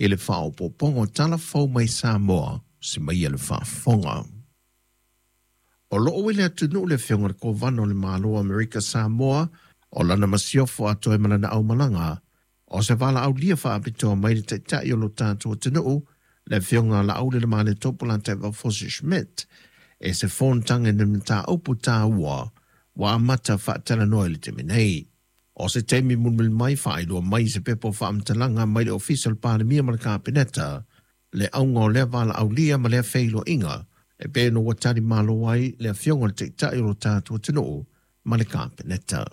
I le faaopoopoga o tala fou mai Samoa se mai le faafofoga. O loo i le atunuu le afioga i le Kovana o le Malo o Amerika Samoa o lana masiofo atoa ma lana aumalaga o se valaaulia faapitoa mai le taitai o lo tatou atunuu le afioga Laaulialemalietopo Lataevao Schmidt e se fonotaga i ni mataupu taua ua amata faatalanoa i le taimi nei. O se taimi mulimuli mai faailoa mai se pepa o faamatalaga mai le Ofisa o le Palemia ma le Kapeneta le auga o lea valaaulia ma lea feiloaiga e pei ona ua tali malo ai le afioga i le taitai o lo tatou atunuu ma le Kapeneta.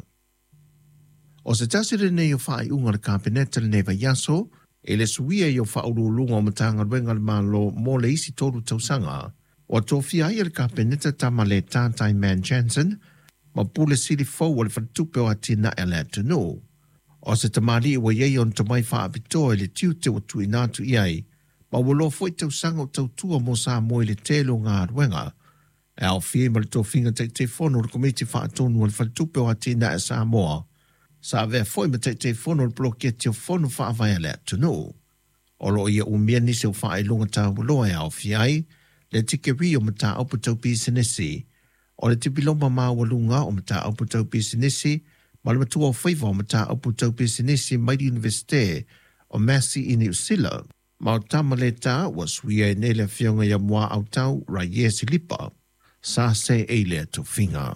O se tasi lenei o faaiuga a le Kapeneta lenei vaiaso i le suia i o faauluuluga o Matagaluega a le Malo mo le isi 3 tausaga. Ua tofia ai e le Kapeneta Tamaleta Taiman Jansen ma Pule Sili fou o le Faletupe o Atinae a le Atunuu. O se tamalii ua i ai ona tomai faapitoa i le tiute ua tuuina atu i ai, ma ua loa foi tausaga o tautua mo Samoa i le tele o galuega. E aofia ai ma le tofiga Taitaifono o le Komiti Faatonu a le Faletupe o Atinae a Samoa, sa avea foi ma Taitaifono o le Poloketi o Fono Faavae a le Atunuu. O loo ia umia nisi o faailoga taualoa e aofia ai le tikeri o mataupu tau pisinisi, o le tipiloma maualuga o mataupu tau pisinisi ma le matua o faiva o mataupu tau pisinisi mai le Iunivesite o Massey i Niu Sila. Ma o Tamaleta ua suia ai nei le afioga ia Muaautau Raie Silipa sa seei lea tofiga.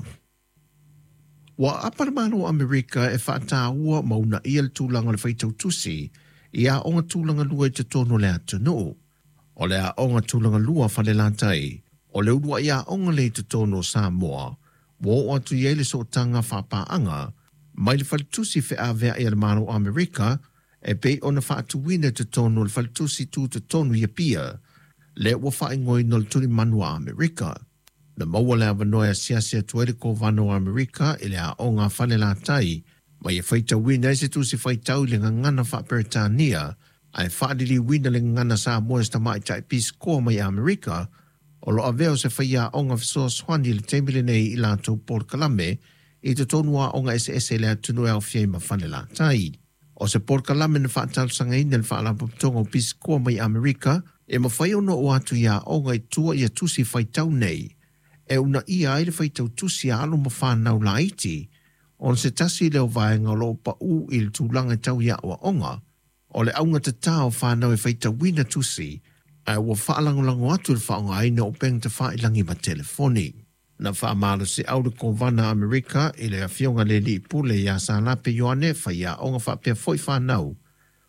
Ua aapa le Malo o Amerika e faataua ma uunaia le tulaga o le faitau tusi i aoga tulaga lua i totonu o le atunuu. O le aoga tulaga lua Falelatai, o le uluai aoga lea i totonu o Samoa, ua oo atu i ai le sootaga faapaaga mai le faletusi feaveai a le Malo o Amerika e pei ona faatuina i totonu o le faletusi tutotonu i Apia, lea ua faaigoaina o le Tulimanu a Amerika. Na maua le avanoa e asiasi atu ai le Kovana o Amerika i le aoga a Falelatai ma ia faitauina ai se tusi faitau i le gagana faa-Peretania ae faaliliuina le gagana Samoa e se tamaitai pisikoa mai Amerika o lo o avea o se faiaoga fesoasoani i le taimi lenei i latou polokalame i totonu o aoga eseese i le atunuu e aofia ai ma Falelatai. O se polokalame na faatalosagaina e le Faalapotopotoga o Pisikoa mai Amerika e mafai ona oo atu i aoga i tua ia tusi faitau nei e uunaia ai le faitau tusi a alo ma fanau laiti ona se tasi lea o vaega o lo o pau i le tulaga tau i aoaoga o le augatata o fanau e faitauina tusi ae ua faalagolago atu le faaaogaina o upega tafailagi ma telefoni. Na faamalosiau le Kovana Amerika i le afioga i le alii pule ia Salape Ioane faiaoga faapea foi fanau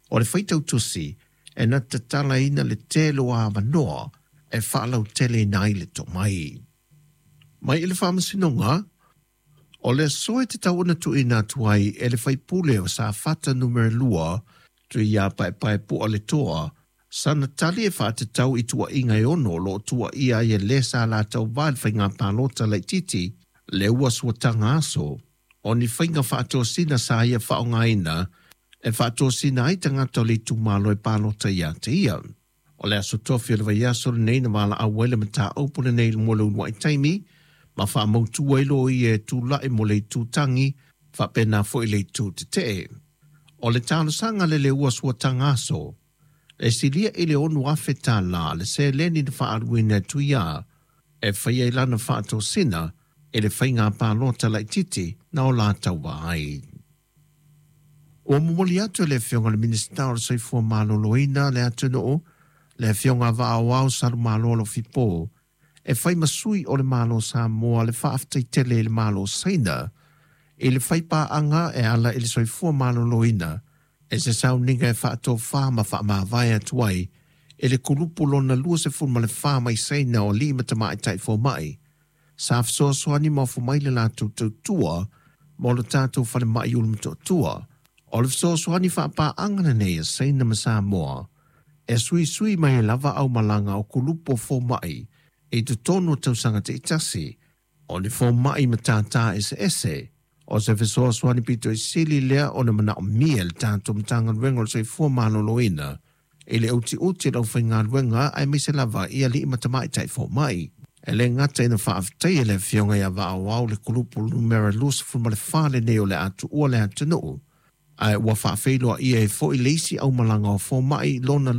o le faitau tusi e na te tatalaina le tele o avanoa e faalauteleina ai le tomai. Mai i le Faamasinoga, o le aso e tatau ona tuuina atu ai e le faipule o Safata Numera 2, Tuiapaepae Pualetoa, sana tali e faatatau i tuuaiga e 6 o lo o tuuaia ai e le sa latou va i le faiga palota laitiiti le ua suataga aso o ni faiga faatosina sa ia faaaogaina e faatosina ai tagata o le itumalo e palota ia te ia. O le aso tofi o le vaiaso lenei na valaau ai le mataupu lenei mo le uluai taimi ma faamautu ai loia e tulai mo le itu tagi faapena foi le itu tetee. O le talosaga le ua suataga aso e silia i le $6,000 le seleni na faaaluina e Tuia e faia i lana faatosina i le faiga palota laitiiti na o latou ai. Ua momoli atu e le afioga i le Minisita o le Soifua Maloloina le atunuu, le afioga Vaaoao Salumalo Alofipo, e fai ma sui o le Malo Samoa le faafetai tele i le Malo Saina i le faipaaga e ala i le soifua maloloina e se sauniga e faatofā ma faamavae atu ai i le kulupu lona 24 mai Saina o alii ma tamaitai fomai sa fesoasoani ma ofo mai le latou tautua mo le tatou falemai Ulumotootua. O le fesoasoani faapaaga lenei a Saina ma Samoa e suisui mai ai lava aumalaga o kulupu o fomai i totonu o tausaga taitasi o ni fomai matata eseese. O se fesoasoani pito i sili lea ona manaomia e le tatou Matagaluega o le Soifua Maloloina i le utiuti o le aufaigaluega aemaise lava i alii ma tamaitai fomai. E le gata ina faafetaia le afioga ia Vaaoao le kulupu numera 24 lenei o le a tuua le atunuu, ae ua faafeiloaia ai foi le isi aumalaga o fomai lona